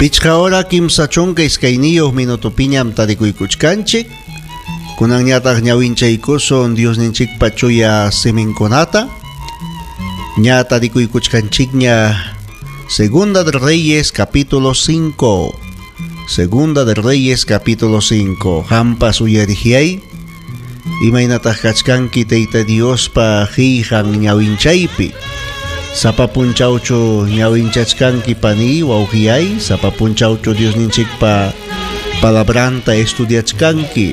Pichqa hora 32 minutopiñam tarikuykuchkanchik. Kunanñataq ñawinchaykusun Diosninchikpa chuya siminkunata. Ña tarikuykuchkanchikña Segunda de Reyes capítulo 5. Segunda de Reyes capítulo 5. Hampas uyarijiay. Imaynataq kachkanki Tayta Diospa qillqan ñawinchaypi. Sapa punchawchu ñawinchachkanki pani wawqiyay, sapa punchawchu Diosninchikpa palabranta estudiachkanki.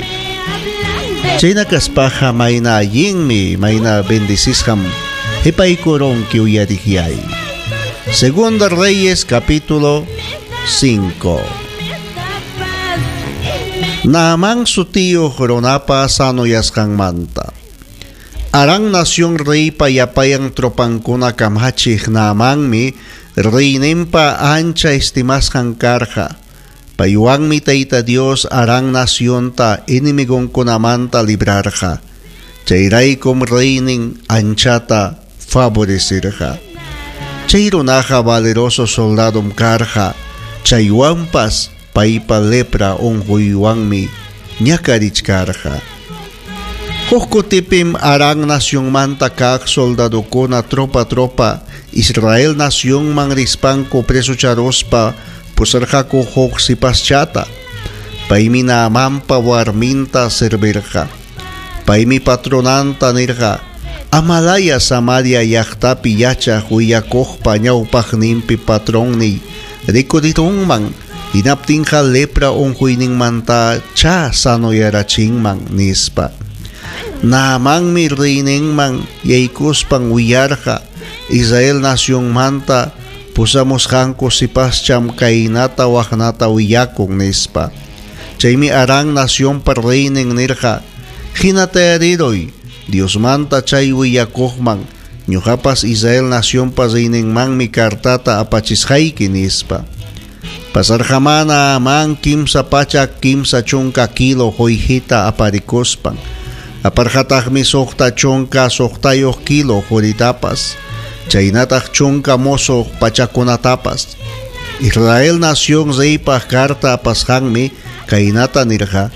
Chayna kaspaqa mayna allinmi, mayna bendecisqam qipaykurunki uyariqyay. Segunda Reyes capítulo 5. Naamán sutiyuq runapa sanoyasqanmanta. Aram nación reypa yapayan tropankuna kamachiq Naamanmi reyninpa ancha estimasqan karqa. Paywanmi Tayta Dios Aram nacionta enemigonkunamanta librarqa. Chayraykum reynin anchata favorecerqa. Chay runaqa valeroso soldadom karqa. Chaywanpas paypa lepra unquywanmi ñakarichkarqa. Huk kutipim Aram nacionmanta kaq soldadokuna tropa tropa Israel nacionman rispanku presocharuspa pusarqaku huk sipaschata. Paymi Naamanpa warminta servirqa. Paymi patronanta nirqa: Amalaya Samaria llaqtapi yachaq willakuqpa ñawpaqninpi patronniy rikurirunman, hinaptinqa lepra unquyninmanta cha sanoyarachinman, nispa. Naamanmi reyninman yaykuspan willarqa Israel nacionmanta pusamusqanku sipascham kaynata waqnata willakun, nispa. Chaymi Aram nacionpa reynin nirqa: Hinatayariruy Diosmanta chay willakuqman, ñuqapas Israel nacionpa reyninmanmi cartata apachisqayki, nispa. Pasarqamá Naamán 330 kilo qullqita aparikuspan. Aparqataqmi 66 kilo quritapas, chaynataq 10 musuq pachakunatapas. Israel nación reypaq carta apasqanmi kaynata nirqa: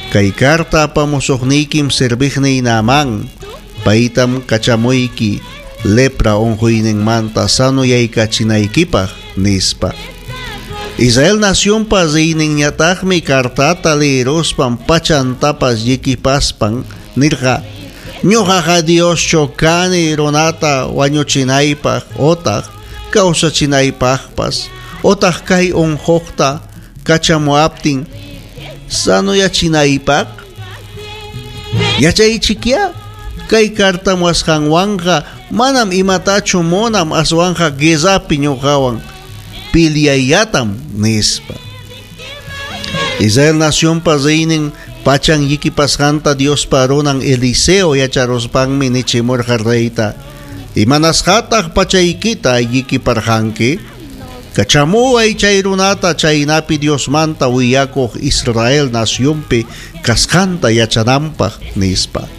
Kay carta apamusuqniykim serviqniy Naamán, paytam kachamuyki lepra unquyninmanta sanoyaykachinaykipaq, nispa. Israel nacionpa reyninñataqmi cartata leeruspan pachantapas llikipaspan nirqa: Ñuqaqa Dioschu kani runata wañuchinaypaq otaq kawsachinaypaqpas, otaq kay unquqta kachamuaptin sanoyachinaypaq. Yachaychikyá, kay cartamuwasqanwanqa manam imatachu munam, aswanqa guerrapi ñuqawan piliayatam, nispa. Israel nacionpa reynin pachan llikipasqanta Diospa runan Eliseo yacharuspanmi nichimurqa reyta: Imanasqataq pachaykita llikiparqanki? Kachamuway chay runata chaynapi Diosmanta willakuq Israel nacionpi kasqanta yachananpaq, nispa.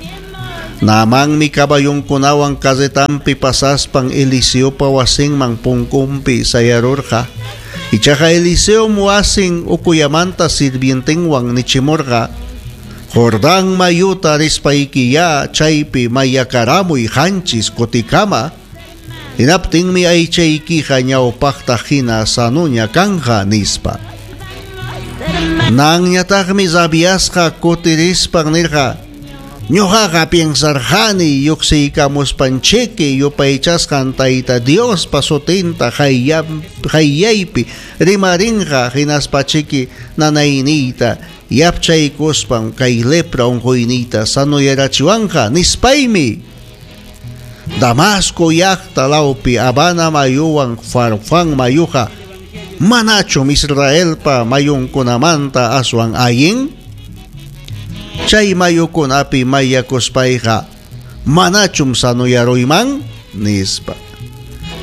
Naamanmi caballonkunawan carretanpi pasaspan Eliseopa wasinman punkunpi sayarurqa. Ichaqa Eliseo wasin ukuyamanta sirvientenwan nichimurqa: Jordán mayuta rispaykiyá chaypi mayakaramuy 7 kutikama. Hinaptinmi aychaykiqa ñawpaqta hina sanuña kanja, nispa. Nanñataqmi rabiasqa kutirispan nirqa: Ñuqaqa piensarqani lluqsiykamuspanchiki yupaychasqan Tayta Diospa sutinta qayllaypi rimarinqa, hinaspachiki nanayniyta yapchaykuspan kay lepra unquyniyta sanoyarachiwanqa, nispaymi. Damasco llaqta lawpi Habana mayuwan Farfán mayuqa manachum Israelpa mayunkunamanta aswan allin? Chay mayukunapi mayakuspayqa manachum sanoyaruyman, nispa.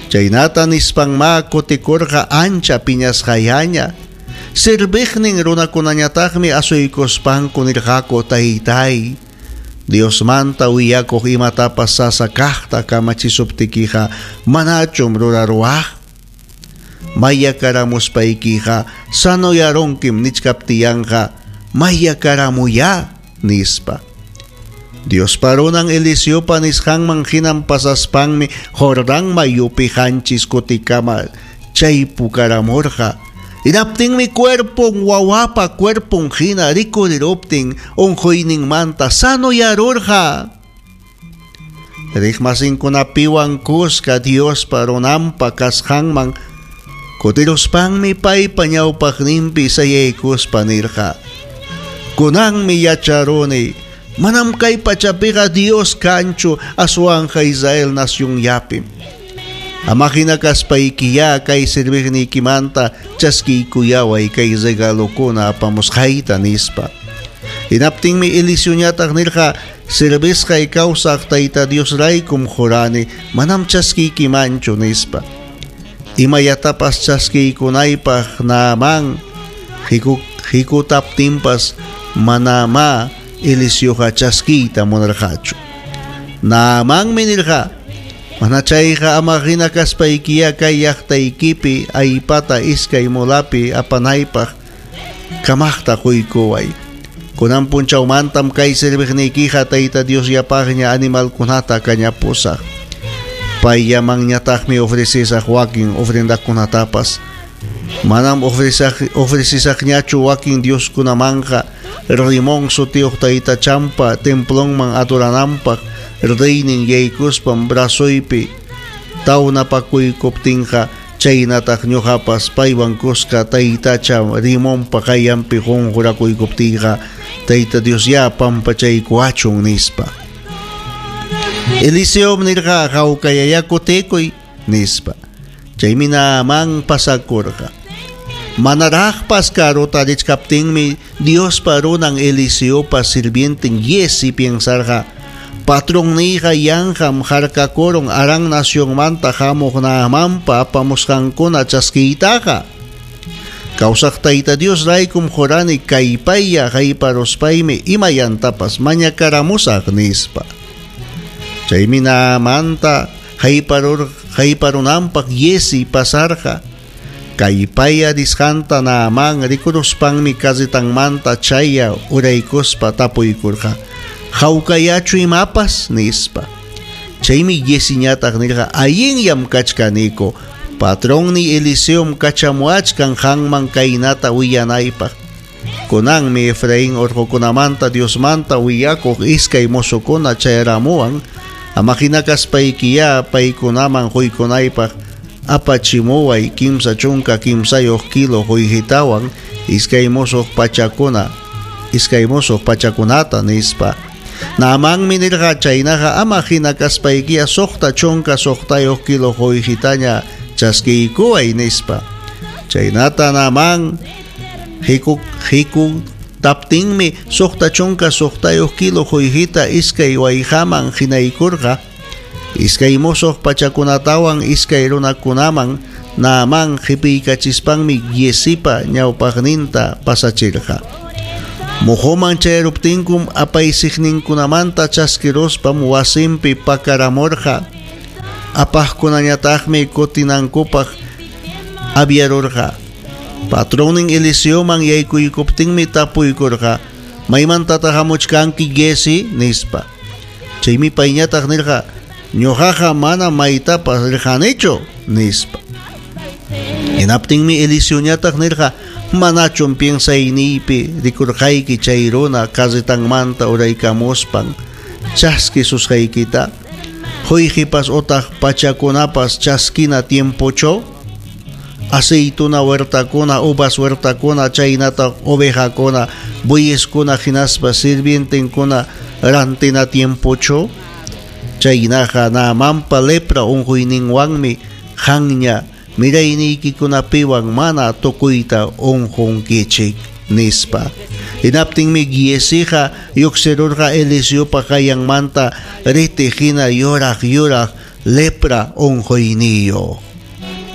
Chaynata nispanma kutikurqa ancha piñasqayaña. Serviqnin runakunañataqmi asuykuspanku nirqaku: Taytay, Diosmanta willakuq imatapas sasa kaqta kamachisuptikiqa manachum ruraruwaq? Mayakaramuspaykiqa sanoyarunkim nichkaptiyanqa mayakaramuyá, nispa. Diospa runan Eliseopa nisqanman hinam pasaspanmi Jordán mayupi qanchis kutikama chaypukaramurqa. Hinaptinmi cuerpon wawapa cuerpon hina rikuriruptin unquyninmanta sanoyarurqa. Riqmasinkunapiwan kuska Diospa runanpa kasqanman kutiruspanmi paypa ñawpaqninpi sayaykuspa nirqa: Kunanmi yacharuni, manam kay pachapiqa Dios kanchu aswanqa Israel nacionllapim. Ama hina kaspaykiyá kay serviqniykimanta chaskiykuyaway kay regalokuna apamusqayta, nispa. Hinaptinmi Eliseoñataq nirqa: Servisqay kawsaq Tayta Diosraykum jurani, manam chaskiykimanchu, nispa. Imayatapas chaskiykunaypaq Naamán hikutaptinpas manamá Eliseoqa chaskiyta munarqachu. Naamanmi nirqa: Mana chayqa ama hina kaspaykiyá kay llaqtaykipi aypata iskay mulapi apanaypaq kamaqta quykuway. Kunan punchawmantam kay serviqniykiqa Tayta Diosllapaqña animalkunata kañapusaq. Payllamanñataqmi ofrecesaq wakin ofrendakunatapas. Manam ofrecesaqñachu wakin dioskunamanqa Rimón sutiyuq taytachampa templonman adorananpaq reynin yaykuspam brazoypi tawnapakuykuptinqa chaynataq ñuqapas paywan kuska taytacha Rimonpa qayllanpi qunqurakuyuptiyqa Tayta Diosyá pampachaykuwachun, nispa. Eliseom nirqa: Hawkayayá kutikuy, nispa. Chaymi Naamán pasakurqa. Manaraqpas karuta richkaptinmi Diospa runan Eliseopa sirvienten Giezi piensarqa: Patronniyqa yanqam harkakurun Aram nacionmanta hamuq Naamanpa apamusqankuna chaskiytaqa. Kawsaq Tayta Diosraykum jurani kaypaylla hayparuspaymi imayantapas mañakaramusaq, nispa. Chaymi Naamanta hayparunanpaq Giezi pasarqa. Kaypaya risqanta Naamán rikuruspanmi carretanmanta chaya uraykuspa tapuykurqa: Hawkayachu imapas, nispa. Chaymi Gieziñataq nirqa: Allinllam kachkaniku. Patronniy Eliseom kachamuwachkan qanman kaynata willanaypaq. Kunanmi Efraín orqokunamanta Diosmanta willakuq iskay mozokuna chayaramuwan. Ama hina kaspaykiyá paykunaman quykunaypaq apachimuway 33 kilo qullqitawan iskay musuq pachakunata, nispa. Naamanmi nirqa: Chaynaqa ama hina kaspaykiya 66 kilo qullqitaña chaskiykuway, nispa. Chaynata Naamán hikutaptinmi 66 kilo qullqita iskay wayqaman hinaykurqa. Iskay musuq pachakunatawan iskay runakunaman Naamán qipiykachispanmi Giezipa ñawpaqninta pasachirqa. Muhuman chayaruptinkum apaysiqninkunamanta chaskiruspam wasinpi pakaramurqa. Apaqkunañataqmi kutinankupaq aviarurqa. Patronnin Eliseoman yaykuykuptinmi tapuykurqa: Maymantataq hamuchkanki Giezi, nispa. Chaymi payñataq nirqa: Ñuqaqa mana maytapas rirqanichu, nispa. Hinaptinmi Eliseoñataq nirqa: Manachum piensayniypi rikurqayki chay runa carretanmanta uraykamuspan chaskisusqaykita? Qullqipas utaq pachakunapas chaskina tiempochu? Aceituna huertakuna, uvas huertakuna, chaynataq ovejakuna, bueyeskuna hinaspa sirvientenkuna rantina tiempochu? Chaynaqa Naamanpa lepra unquyninwanmi qanña mirayniykikunapiwan mana tukuyta unqunkichik, nispa. Hinaptinmi Gieziqa lluqsirurqa Eliseopa qayllanmanta riti hina yuraq yuraq lepra unquyniyuq.